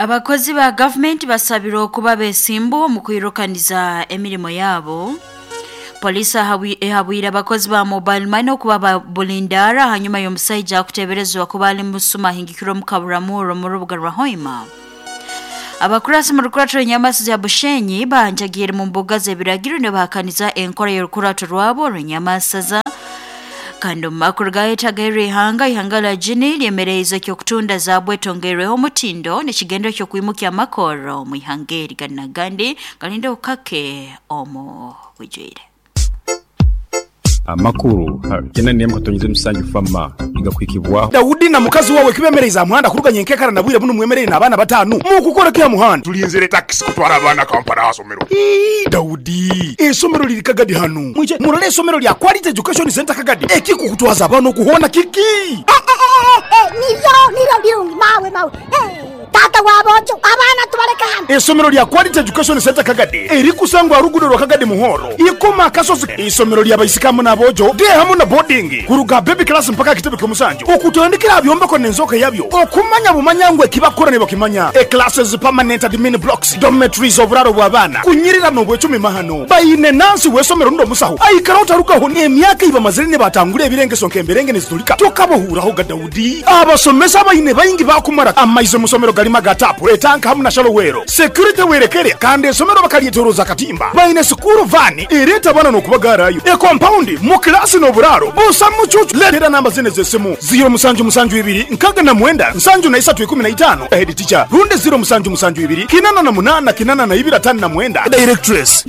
Abakozi ba gavumenti basabirwe okuba besimbu omu kwirukaniza emirimo yabo. Polisi ehabwire abakozi ba mobile money okuba bulindara hanyuma y'omusaija akuteberezwa kuba ali musuma ahingikirwe omu Kaburamuro mu rubuga rwa Hoima. Abakurasi mu rukurato rw'enyamasu za Bushenyi banjagiire mu mbuga z'ebiragiro nibahakaniza enkora y'orukurato rwabo rw'enyamasaza. Kandi omu makuru gayetagairwe ihanga, ihanga lya Guinea lyemereize eky'okutunda zaabu etongerweho omutindo n'ekigendero ky'okwimukya amakorro omu ihanga eri gandi nagandi galinde obukake omu bwijwire. Amakuru ha kyenda n'emu katonyeze musanju FAMA nigakuhikibwaho. Daudi na mukazi wawe kibemereize aha muhanda kuruga nyenkekara na bwire bunu mwemereire n'abaana batanu. Mukukora ki aha muhanda? Tulinzire takisi kutwara abaana Kampala aha somero. Ii, Daudi, eisomero liri Kagadi hanu. Mwije murole eisomero lya Quality Education Centre Kagadi. Ekikukutwaza abaana oku hoona kiki? Niryo, niryo lirungi mawe, mawe. Taata w'aboojo, abaana tubaleke hanu. Eisomero lya Quality Education Centre Kagadi erikusangwa aha luguudo rwa Kagadi Muhoro, Ikoma Akasozi. Eisomero lya baisiki hamu n'aboojo, day hamu na boarding, kuruga aha baby class mpaka aha kitebe ky'omusanju, okutandikira aha byombeko n'enzooka yabyo, okumanya bumanya ngu ekibakukora nibakimanya, e-classes, permanent admin blocks, dormitories, oburaaro bw'abaana, kunyirira n'obwecumi mahano. Baine nansi w'eisomero rundi omusaho aikaraho tarugaho n'emyaka ei bamazire nibatangura ebirengeso nk'emberenge nizitulika. Tokabahuuraho ga Daudi. Abasomesa abaine baingi baakumara amaizi omu somero garimu aga taapu, etanka hamu na shalowero. Security werekere kandi esomero bakaryetoroza akatimba. Baine sikuuru vaani ereeta abaana n'okubagaarayo. Ekompaundi mu kilaasi n'oburaaro busa mucuucu. Leetera namba zinu ez'esimu, ziiro musanju musanju ibiri nkaaga na mwenda nsanju na isatu ikumi na itaano, Head teacher, rundi ziiro musanju musanju ibiri kinana na munaana kinana na ibiri ataano na mwenda, Directress.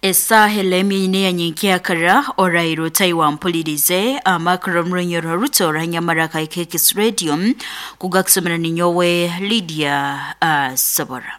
Esaaha elemi ine ya nyenkyakara oraire otai wampulirize amakuru omurunyoro ruto orahanyamara ka KX Radio kugakusomera ninyowe Lydia Sobora.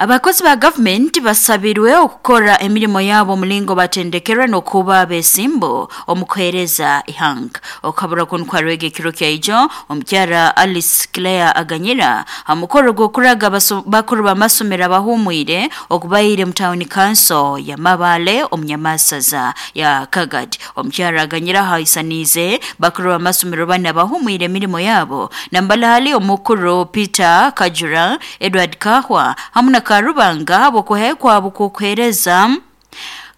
Abakozi ba gavumenti basabirwe okukora emirimo yabo omulingo batendekerwe n'okuba abesimbu omu kuheereza ihanga. Okukabura kunu kwarwega ekiro kyaijo omukyara Alice Claire Aganyira ha mukoro gw'okuraga bakuru b'amasomero abahumwire okubaire mu tawuni kanso ya Mabale omu Nyamasaza ya Kagadi. Omukyara Aganyira ahaisaniize bakuru b'amasomero bana abahumwire emirimo yabo nambala hali omukuru Peter Kajura, Edward Kahwa hamu na Karubanga habw'okuhayo kwabo kw'okuheereza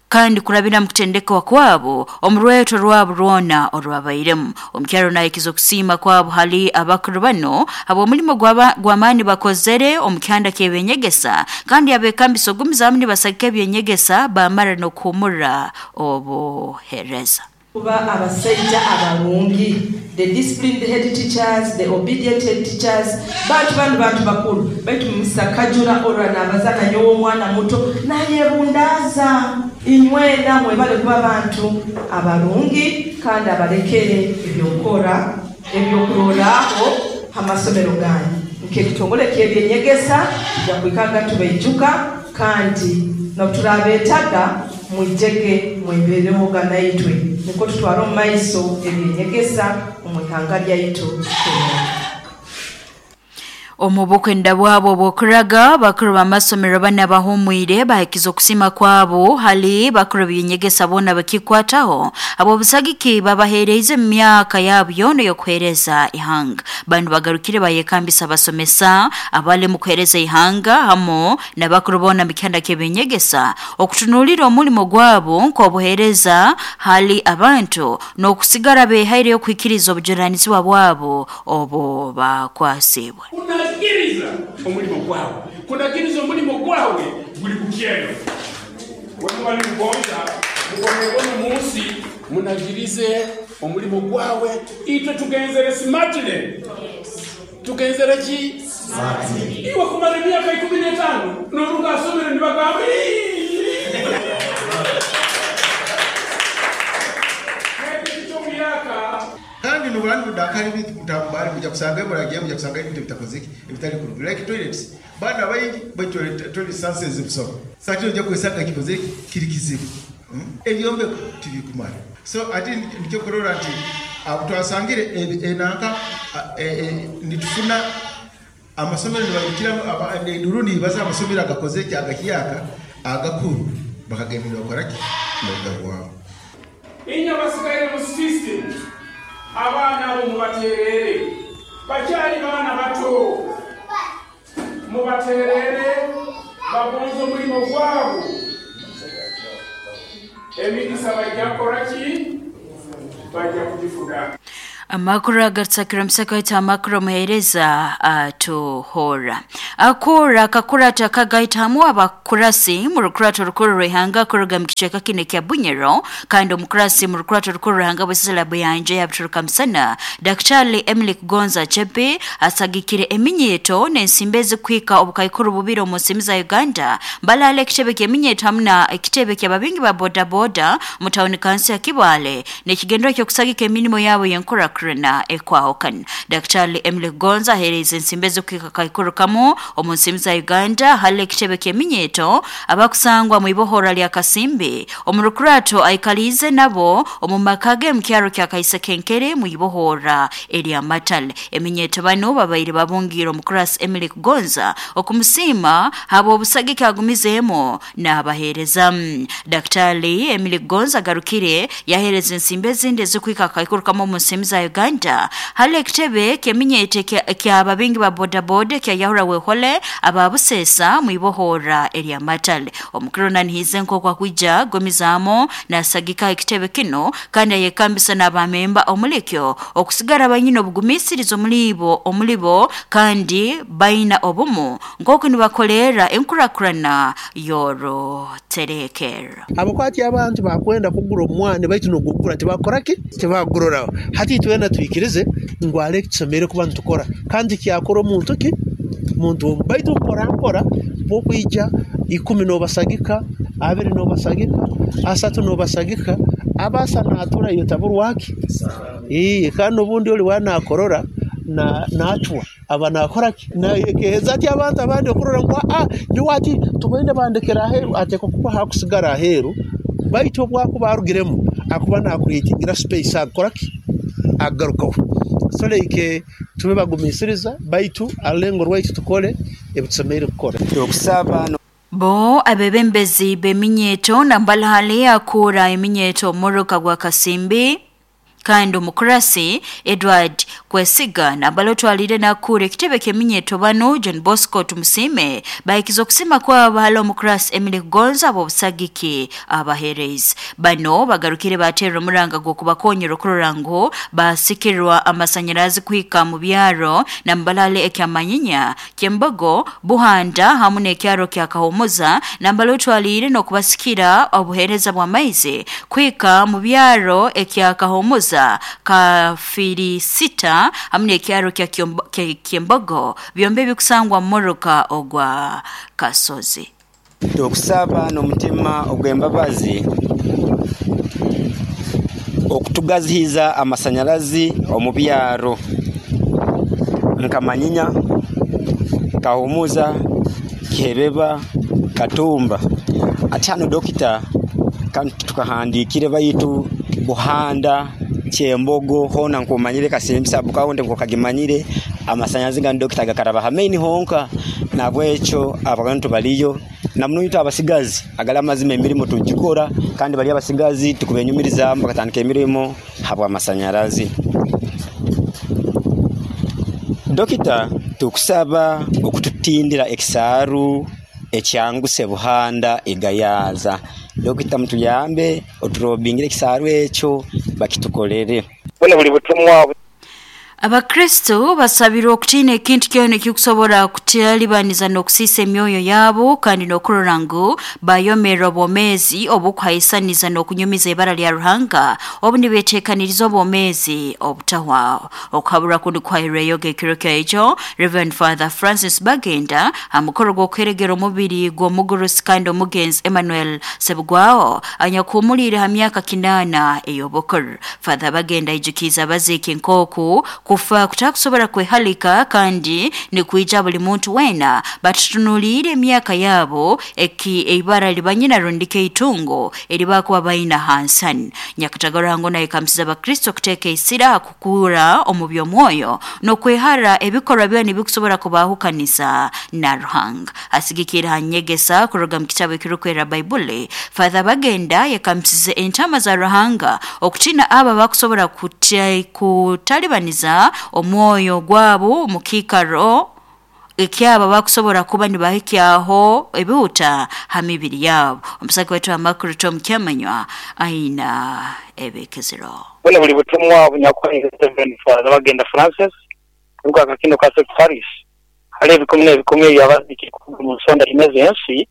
kandi kurabira mu kutendekwa kwabo omu rweto rwabo rwona orwabairemu. Omukyaro nahikiza okusiima kwabo hali abakuru bano habw'omulimo gw'amaani bakozere omu kihanda ky'ebyenyegesa kandi abekambisa ogumizaamu nibasagika ebyenyegesa bamara n'okuhumura obuheereza. Kuba abasaija abarungi, the disciplined head teachers, the obedient head teachers, bantu banu bantu bakuru. Baitu Mister Kajura orora nabaza nanyowe omwana muto nayebundaaza. Inywena mwebale kuba bantu abarungi kandi abalekere ebyokukora ebyokurorraho ha masomero ganyu. Nk'ekitongole ky'ebyenyegesa tujja kwikaga tubaijuka kandi n'obuturabetaga mwijege mweberehoga naitwe nukwo tutware omu maiso ebyenyegesa omu ihanga lyaitu Kenya. Omu bukwenda bwabo obw'okuraga bakuru b'amasomero bana bahumwire bahikiza okusiima kwabo hali bakuru b'ebyenyegesa boona bakikwataho habw'obusagiki babaheereize mu myaka yabo yoona ey'okuheereza ihanga. Banu bagarukire bayekambisa abasomesa abali mu kuheereza ihanga hamu n'abakuru boona mu kihanda ky'ebyenyegesa okutunuulira omulimo gwabo nk'obuheereza hali abantu n'okusigara behaireyo kuhikiriza obujunaanizibwa bwabo obu bakwasiibwe. Kunagiriza omulimo gwawe. Kunagiriza omulimo gwawe guli kukyeno. Wemuba nimugonza mubonebone omu nsi, munagirize omulimo gwawe. Itwe tugenzere smartly. Tugenzere ki? Iwe kumara emyaka 15 noruga ha somero nibagamba Kandi nubura nibudakara ebintu mutambara muja kusanga muragiya muja kusanga ebintu ebitakozeki ebitali kurungi like toilets baana baingi baitu toilet toilet sanses busaho so ati noija kwesanga kikozeki kiri kizibu ebyombeko tibikumara so ati nikyo kurora nti twasangire enanka nitufuna amasomero nibairukiramu enduru nibaza amasomero agakozeki agahyaka agakuru bakagenda nibakora ki nibagabwaho. Inywe abasigaire mu system, abaana abo mubaterere. Bakyali baana bato, mubaterere, bagonze omulimo gwabo, emigisa bajja kukora ki? Bajja kugifuna. Amakuru agarutsakira omusaka waitu amakuru omuheereza atuhora akura akakurata akagaitamu abakurasi mu rukurato rukuru rw'ihanga kuruga mu kicweka kino ekya Bunyoro, kandi omukurasi mu rukurato rukuru rw'ihanga bwesesera buyanja yabituruka musana Daktari Emily Kugonza Chepe asagikire eminyeto n'ensimbi ezikuhika obukaikuru bubiri omu nsiimi za Uganda mbalala ekitebe ky'eminyeto hamu na ekitebe ky'ababingi ba bodaboda mu tawuni kansi ya Kibaale n'ekigendero ky'okusagika emirimo yabo y'enkurakurana ekwahukana. Daktari Emily Kugonza aheereza ensimbi ezikuhika kaikuru kamu omu nsiimi za Uganda hali ekitebe ky'eminyeto abakusangwa mu ibohora lya Kasimbi omu rukurato aikaliize nabo omu maka ge mu kyaro kya Kaisekenkere mu ibohora erya Matale. Eminyeto bano babaire babungiire omukurasi Emily Kugonza okumusiima habw'obusagiki agumizeemu n'abaheereza. Daktari Emily Kugonza agarukire yaheereza ensimbi ezindi ezikuhika akaikuru kamu omu nsiimi za Uganda hali ekitebe ky'eminyeto ky'ababingi ba bodaboda kya Yahura Wehole ababuseesa mu ibohora erya Matale. Omukuru nanihize nk'oku akwija gomizaamu nasagika ekitebe kino kandi ayekambisa n'abamemba omulikyo okusigara banyine obugumisiriza omulibo omulibo kandi baina obumu nk'oku nibakolerera enkurakurana y'oruterekero. Abakwati abantu bakwenda kugura omwana baitu nogugura tibakoraki tibaguroraho. Hati twena twikirize ngu ale tusomere kuba nitukora kandi kyakora omuntu ki muntu baitu mpora mpora bwokwija 10 nobasagika 20 nobasagika 30 nobasagika abasa natura iyo taburwaki kandi obundi oli wanakorora na nachwa aba nakoraki na ekeheza ati abantu abandi okurora ngu niwati tubende bandekera aheru ateko kuba hakusigara aheru baitu obwakuba arugiremu akuba nakuretingira space akoraki agarukaho. So like tube bagumisiriza baitu alengo rwaitu tukole ebitusemeire kukora. Okusaba Bo abebembezi b'eminyeto nambalahali akura eminyeto omuruka gwa Kasimbi kandi omukurasi Edward Kwesiga nambala otwalire nakura ekitebe ky'eminyeto bano John Bosco Tumusime bahikiza okusima kwabo hali omukurasi Emily Kugonza ab'obusagiki abaherezi bano bagarukire baterera omuranga gw'okubakonyera okurora ngu basikirwa amasanyarazi kuhika mu byaro nambalale ekyamanyinya Kyembogo Buhanda hamu n'ekyaro kya Kahumuza nambala otwalire n'okubasikira obuhereza bw'amaizi kuhika mu byaro ekya Kahumuza Kafirisita hamu n'ekyaro kya Kyembogo byombi bikusangwa muruka ogwa Kasozi. Okusaba n'omutima ogw'embabazi okutugazihiza amasanyarazi omu byaro nkamanyinya Kahumuza Kihebeba Katumba. Ati hano dokita kandi tukahandikire baitu Buhanda Kyembogo hona nkumanyire Kasimbi sabukawo nkokagimanyire amasanyazi ga dokita gakaraba hameni honka nabwecho abantu baliyo namuno abasigazi agala amazima emirimo tugikora kandi bali abasigazi tukubenyumiriza bakatandika emirimo habwa amasanyarazi. Dokita tukusaba okututindira ekisaaru ekyanguse Buhanda egayaza. Dokita mutuyambe oturobingire ekisaaru ekyo bakitukolere. Buli butumwa. Abakristo basabirwa okutiina ekintu kyona ekikusobora kutalibaniza n'okusiisa emyoyo yabo kandi n'okurora ngu bayomerera obwomeezi obukuhaisaniza n'okunyumiza ibara lya Ruhanga obu nibeteekaniriza obwomeezi obutahwaho. Okuhabura kundi kuhairweyo ekiro kyaijo Reverend Father Francis Bagenda amukoro gw'okweregera omubiri gw'omugurusi kandi omugenzi Emmanuel Sebugwaho anyakuhumuliire ha myaka 8 ey'obukuru. Father Bagenda aijukiza abaziiki nk'oku kufa kutakusobora kwehalika kandi nikuija buli muntu wena batutunuliire emyaka yabo eki eibara libanyina rundike itungo eribakuba baina hansani. Nyakatagara naye kamsiza abakristo kuteeka isira kukura omu by'omwoyo n'okwehara ebikorwa byona ebikusobora kubahukanisa na Ruhanga. Asigikira hanyegesa kuruga mu kitabo ekirukwera Baibuli. Father Bagenda yakamsize entama za Ruhanga okutina aba bakusobora kutalibaniza Kuhikya omwoyo gwabo mu kiikaro ekyaba bakusobola kuba nibahikyaho ebihuta ha mibiri yabo. Omusaki wetu amakuru Tom Kyamanywa aina ebikezero. Bwona buli butumwa obunyakwaire Reverend Father Bagenda Francis kuruga Kakindo Catholic Parish hali ebikumi n'ebikumi eby'abaziikire kuruga omu nsonda ina ez'ensi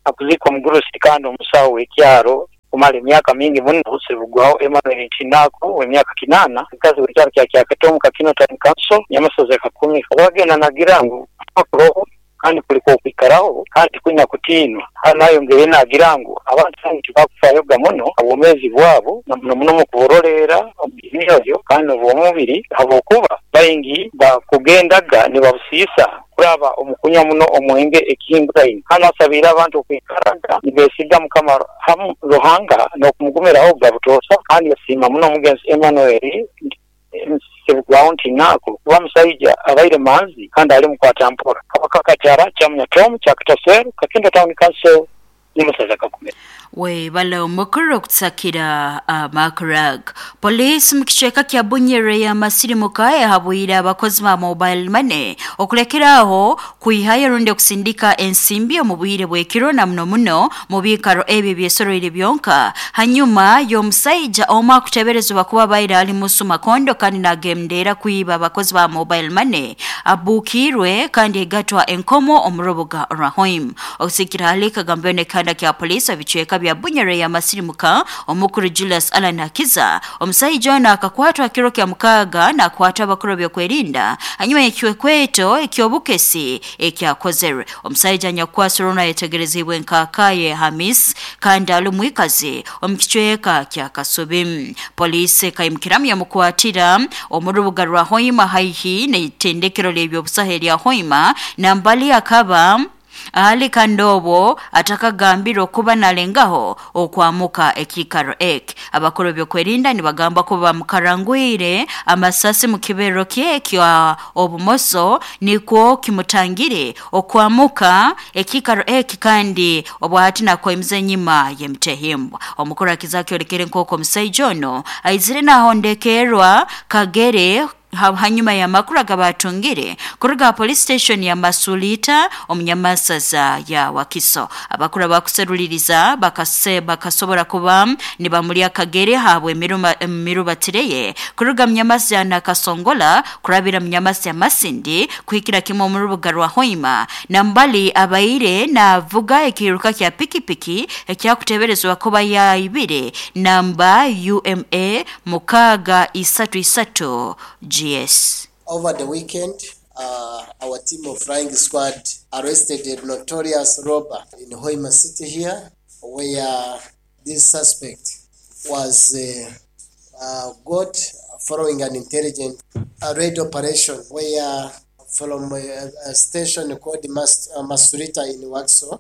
akuziika omugurusi kandi omusawo w'ekyaro kumara emyaka mingi muno Ssebugwawo Emmanuel Ntinako ow'emyaka 8 mukazi w'ekyaro kya Kyakato Kakino Town Council Nyamasozi Kakumi. Bagenda nagira ngu kuroho kandi kuliko okwikaraho kandi kunyina kutiinwa. Hano nayongere nagira ngu abantu bangi tibakufayoga muno obwomeezi bwabo na muno muno mu kuburoleera emyoyo kandi n'obw'omubiri habwokuba baingi bakugendaga nibabusiisa kuraba omukunywa muno omwenge ekihinguraine. Hano asabiire abantu okwikaraga nibesiga Mukama hamu Ruhanga n'okumugumiraho butoosa kandi yasiima muno omugenzi Emmanuel Ssebugwawo Ntinako kuba musaija abaire manzi kandi ali mukwata mpora. Kabakakatara Kyamunya Tom Kyakato Kakindo Town Council Nyamasaza Kakumi. Webale omukuru okutsakira amakurag. Polisi mu kicweka kya Bunyere ya Masirimuka yahabwire abakozi ba mobile money okulekeraho kwihayo rundi okusindika ensimbi omu bwire bw'ekiro na muno muno mu biikaro ebyo byesoroire byonka hanyuma y'omusaija omu akuteberezebwa kuba baire ali musu makondo kandi nagendera kwiba abakozi ba mobile money abuukirwe kandi egatwa enkomo omu rubuga rwa Hoima. Okusikira hali kagambwe n'ekihanda kya polisi ebicweka bya Bunyere ya Masirimuka omukuru Julius Alan Hakiza omusaija ono akakwatwa kiro kya mukaaga nakwatwa abakuru byokwerinda hanyuma y'ekikwekweto eky'obukesi ekyakozerwe. Omusaija anyakukwasirwe ono ayetegerezibwe nk'Akaye Hamis kandi ali mwikazi omu kicweka kya Kasubi. Polisi ekaimukiramu yamukwatira omu rubuga rwa Hoima haihi n'itendekero ly'ebyobusaho erya Hoima nambali akaba ahali kandi obwo atakagambirwe okuba nalengaho okwamuka ekiikaro eki. Abakuru byokwerinda nibagamba kuba bamukarangwire amasasi mu kibero kye kya obumoso nikwo kimutangire okwamuka ekiikaro eki kandi obwahati nakoimiza enyima y'emitehimbwa. Omukuru akiza kyolekere nk'oku omusaija ono aizire nahondekerwa kagere hanyuma ya makuru agabatungire kuruga police station ya Masulita omunyamasaza ya Wakiso. Abakuru abakuseruliriza bakasobora kuba nibamulya kagere habwe emirubatireye kuruga munyamasa ya Nakasongola kurabira munyamasa ya Masindi kuhikira kimwe omu rubuga rwa Hoima nambali abaire navuga ekiruka kya pikipiki ekyakuteberezwa kuba yaibire namba UMA 633 GS. Over the weekend, our team of flying squad arrested a notorious robber in Hoima City here, where this suspect was got following an intelligent raid operation where from a station called Masurita in Wakiso,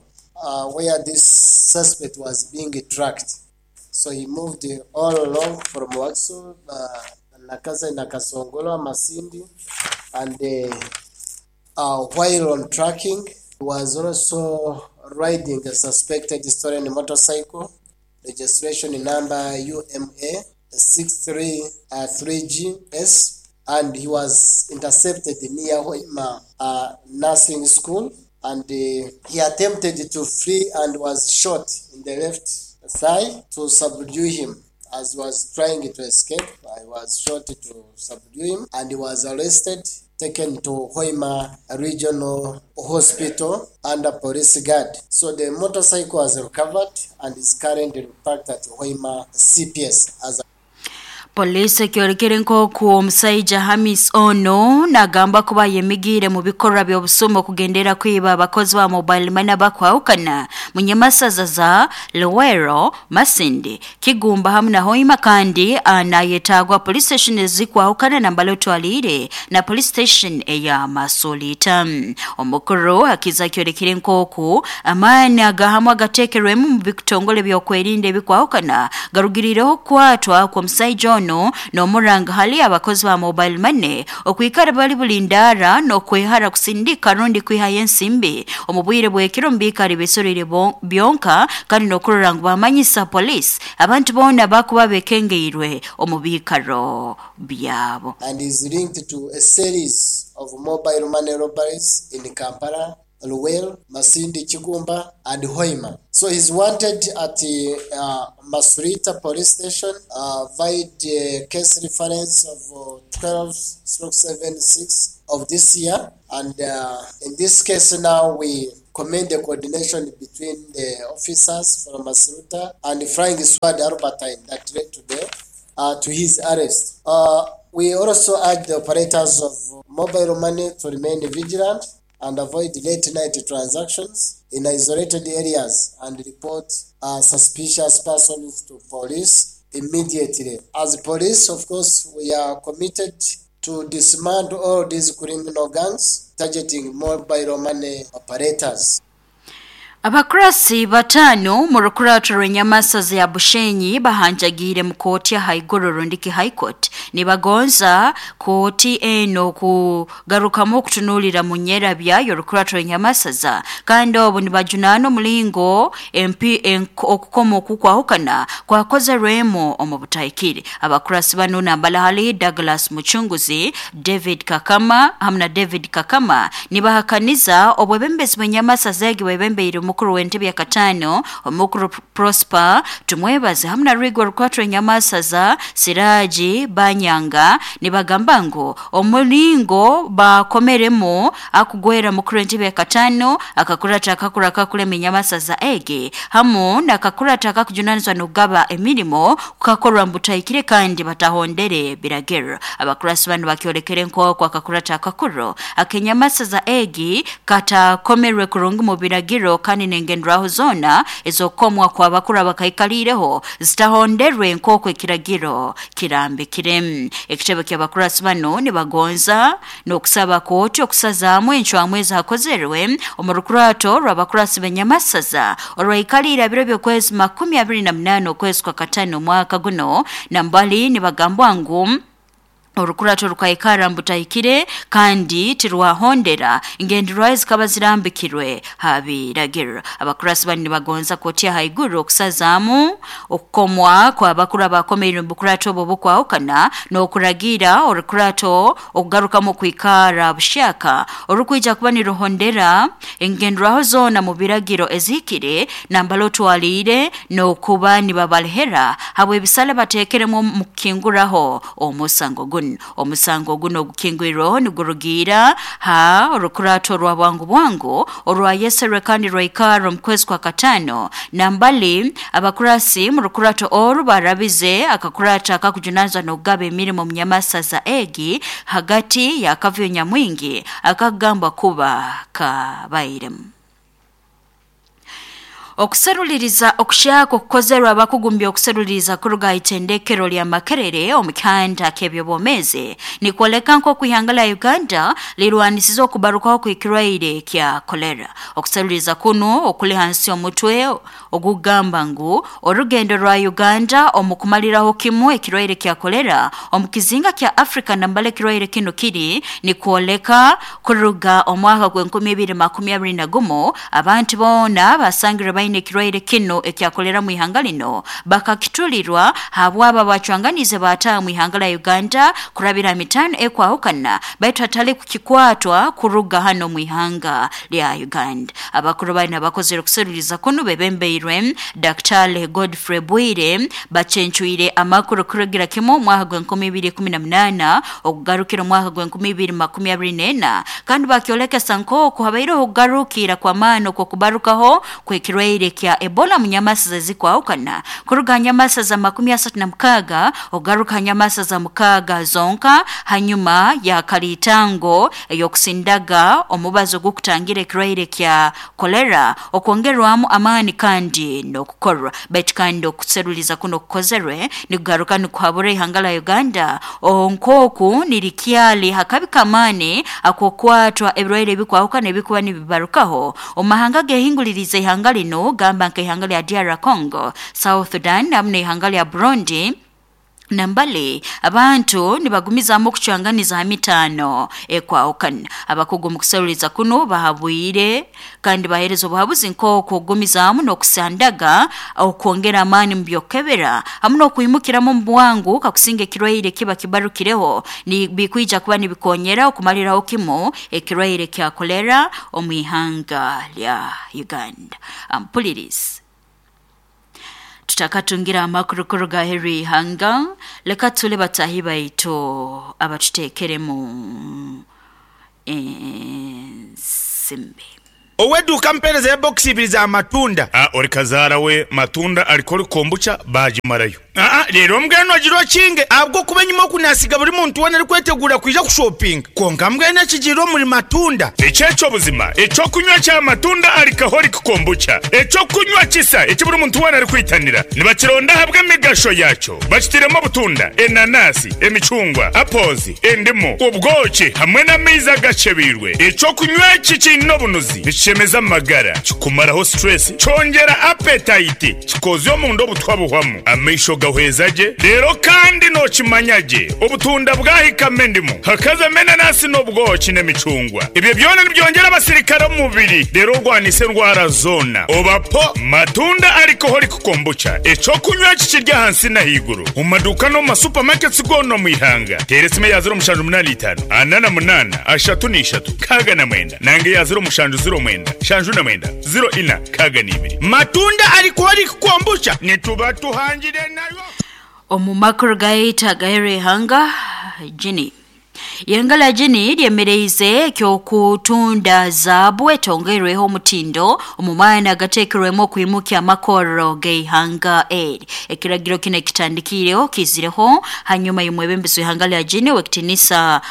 where this suspect was being tracked. So he moved all along from Wakiso, Nakaza, Nakasongola, Masindi, and while on tracking, he was also riding a suspected stolen motorcycle, registration number UMA 633GS, and he was intercepted near Hoima Nursing School, and he attempted to flee and was shot in the left thigh to subdue him. As he was trying to escape, I was shot to subdue him, and he was arrested, taken to Hoima Regional Hospital under police guard. So the motorcycle was recovered and is currently parked at Hoima CPS as a Polisi ekyolekere nk'oku omusaija Hamis ono nagamba kuba yemigire mu bikorwa by'obusumu okugendera kwiba abakozi ba mobile money abakwahukana munyamasaza za Luwero, Masindi, Kigumba hamu na Hoima kandi anayetagwa police station ezikwahukana nambali otwalire na police station eya Masulita. Omukuru akiza kyolekere nk'oku amaani agahamu agateekerwemu mu bitongole by'okwerinda ebikwahukana garugirireho kukwatwa kw'omusaija ono Bunu n'omuranga hali abakozi ba mobile money okwikara bali bulindara n'okwehara kusindika rundi kwihayo ensimbi omu bwire bw'ekiro mu biikaro bisorire byonka kandi n'okurora ngu bamanyisa police abantu boona bakuba bekengeirwe omu biikaro byabo. And is linked to a series of mobile money robberies in Kampala, Luwero, Masindi, Kigumba, and Hoima. So he's wanted at the Masulita police station via the case reference of 12/76 of this year. And in this case now we commend the coordination between the officers from Masuruta and the Flying Squad Albertine that led to to his arrest. We also urge the operators of mobile money to remain vigilant and avoid late-night transactions in isolated areas and report suspicious persons to police immediately. As police, of course, we are committed to dismantle all these criminal gangs targeting mobile money operators. Abakurasi batano mu rukurato rw'enyamasaza ya Bushenyi bahanjagiire mu kooti ya haiguru rundiki High Court nibagonza kooti eno kugarukamu okutunuulira mu nyerabya y'orukurato rw'enyamasaza kandi obu nibajunaana omulingo okukoma okukwahukana kwakozerwemu omu butahikire. Abakurasi banu nambala hali Douglas Muchunguzi, David Kakama hamwe na David Kakama nibahakaniza obwebembezi bw'enyamasaza egi bwebembeire omukuru w'entebe ya katano omukuru Prosper Tumwebaze hamwe na Rigwa Rukwatwa enyamasaza Siraji Banyanga nibagamba ngu omulingo bakomeremu akugwera mukuru w'entebe ya katano akakurata akakura akakulema enyamasaza egi hamu nakakurata akakujunanizwa n'okugaba emirimo kukakorwa mbutahikire kandi batahondere biragiro. Abakurasi banu bakyolekere nk'oku akakurata akakuru akenyamasaza egi katakomerwe kurungi mu biragiro kandi nengenderaho zona ezokomwa kwa bakuru abakaikalireho zitahonderwe nk'oku ekiragiro kirambikire. Ekitebe ky'abakurasi bano nibagonza n'okusaba kooti okusazaamu encwamu ezakozerwe omu rukurato rw'abakurasi b'enyamasaza orwaikalire biro by'okwezi 28 okwezi kwa katano omwaka guno nambali nibagambwa ngu orukurato rukaikara mbutahikire kandi tirwahondera ingenderwaho zikaba zirambikirwe habiragiro. Abakurasi bani nibagonza kooti haiguru okusazaamu okukomwa kwa bakuru abakomeire mu bukurato obwo bukwahukana n'okuragira orukurato okugarukamu okwikara bushaka orukwija kuba niruhondera engenderwaho zoona mu biragiro ezihikire nambala otwaliire n'okuba nibabalehera habw'ebisale bateekeremu mu kukinguraho omusango guno. Omusango guno ogukingwirweho nigurugiira ha orukurato rwa bwangu bwangu orwayeserwe kandi rwaikara omu kwezi kwa katano nambali abakurasi mu rukurato oru barabize akakurata akakujunanizwa n'okugaba emirimo mu nyamasaza egi hagati ya kavuyo nyamwingi akagambwa kuba kabairemu. Okuseruliriza okushaka okukozerwa abakugumbya okuseruliriza kuruga itendekero lya Makerere omu kihanda ky'ebyobwomeezi nikwoleka nk'oku ihanga lya Uganda lirwanisize okubarukaho kw'ekirwaire kya kolera. Okuseruliriza kuno okuli hansi omutwe ogugamba ngu orugendo rwa Uganda omu kumaliraho kimu ekirwaire kya kolera omu kizinga kya Africa nambala ekirwaire kino kiri nikwoleka kuruga omwaka gw'e 2021 abantu boona basangirwe baine ekirwaire kino ekyakolera mu ihanga lino bakakitulirwa habwaba bacwanganize bataaha mu ihanga lya Uganda kurabira mitano ekwahukana baitu hatali kukikwatwa kuruga hano mu ihanga lya Uganda. Abakuru baina bakozere okuseruliriza kuno bebembeirwe Dr. Godfrey Bwire bacencwire amakuru kurugira kimu omwaka gw'e 2018 okugarukira omwaka gw'e 2024 kandi bakyolekesa nk'oku habaireho okugarukira kw'amaani okw'okubarukaho kw'ekirwaire kya Ebola mu nyamasaza ezikwahukana kuruga nyamasaza 36 okugaruka nyamasaza 6 zonka hanyuma ya kalitango ey'okusindaga omubazo gw'okutangira ekirwaire kya kolera okwongerwamu amaani kandi n'okukorwa. Baitu kandi okuseruliza kuno kukozerwe nikugaruka nikuhabura ihanga lya Uganda nk'oku nirikyali hakabi kamaani ak'okwatwa ebirwaire ebikwahukana ebikuba nibibarukaho omu mahanga gehinguliriza ihanga lino gamba nk'ihanga lya DR Congo, South Sudan hamwe n'ihanga lya Burundi Nambale abantu nibagumizamu okucwanganiza ha mitaano ekwahukana. Abakugu mu kuseruliza kuno bahabwire kandi bahereza obuhabuzi nk'okugumizaamu n'okusandaga, okwongera amaani mu by'okukebera hamu n'okwimukiramu omu bwangu kakusinga ekirwaire kiba kibarukireho, bikwija kuba nibikonyera okumaliraho kimu ekirwaire kya kolera omu ihanga lya Uganda. Ampulirizi. Tutakatungire amakuru kuruga aheeru y'ihanga, leka tule bataahi baitu abatuteekeremu ensimbi. Ow'eduuka mpeereza ya bokisi ibiri za matunda. A Ori kazaara we matunda alikoli kombucha baagimarayo. Aa Leero mbwenu ogira okinge ahabw'okuba enyima oku naasiga buri muntu weena arikweteguura kwija kushopinga. Kwonka mbwenu ekigiire omuri matunda. Eki eky'obuzima, eky'okunywa kya matunda alcoholic kombucha, eky'okunywa kisa eki buri muntu weena arikwitanira. Nibakironda ahabw'emigasho yaakyo. Bakitairemu obutunda, enanasi, emicungwa, apples, endimu, obwoki hamwe n'amaizi agakyebeirwe. Eky'okunywa eki kiine obunuzi, nikishemeza amagara, kikumaraho stress, kyongyera appetite, kikozya omunda obutwa buhwamu, amaisho gahweza gye, reero kandi nookimanya gye obutunda bwahikamu endimu, hakazamu enanasi n'obwoki n'emicungwa. Ebyo byona nibyongyera abasirikare omu mubiri reero orwanise endwara zoona. Oba po Matunda Alcoholic Kombucha, eky'okunywa eki kiri ahansi n'ahaiguru omu maduuka n'omu ma supermarkets goona omu ihanga. Teera esimu eya 0785 48 33 69 nanga eya 0709 79 04 62. Matunda Alcoholic Kombucha nituba tuhangire nayo. Omu makuru gaitu agaheeru y'ihanga, Guinea. Ihanga lya Guinea lyemereize eky'okutunda zaabu etongeirweho omutindo omu maani agateekerwemu okwimukya amakorro g'ihanga eri. Ekiragiro kinu ekitandikiireho kiizireho hanyuma y'omwebembezi w'ihanga lya Guinea ow'ekitiinisa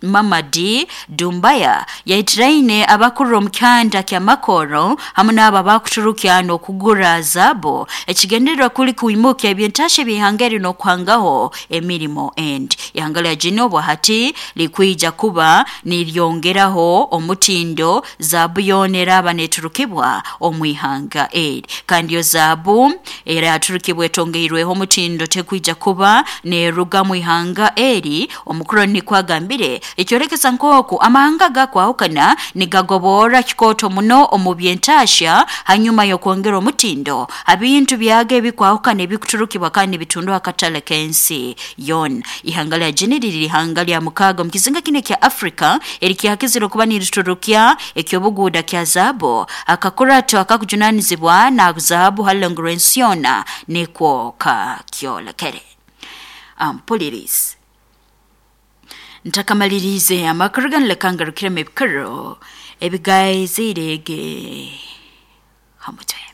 Mamadi Doumbouya yaitiraine abakurra omu kyanda ky'amakorro hamu n'abo abakuturukya n'okugura zaabu. Ekigendererwa kuli kwimukya eby'entaahya eby'ihanga eri n'okuhangaho emirimo endi. Ihanga lya Guinea obwahati likwija kuba niryongeraho omutindo zaabu yoona eraaba neeturukibwa omu ihanga eri. Kandi yo zaabu eraturukibwa etongeirweho omutindo tekwija kuba neeruga mu ihanga eri, omukuru nikwo agambire, ekyolekesa nk'oku amahanga agakwahukana nigagoborra kikooto muno omu by'entaahya hanyuma y'okwongera omutindo ha bintu byago ebikwahukana ebikuturukibwa kandi nibitundwa ha katale k'ensi yoona. Ihanga lya Guinea liri ihanga lya mukaaga omu kizinga kinu ekya Africa erikyakizire okuba niriturukya eky'obuguuda kya zaabu. Akakurato akakujunaanizibwa na zaabu ha rulengo rw'ensi yoona nikwo kakyolekere. Ampulirizi. Ntakamaliriize amakuru ganu leka ngarukiremu ebikuru ebigaiziire ge ha mutwe.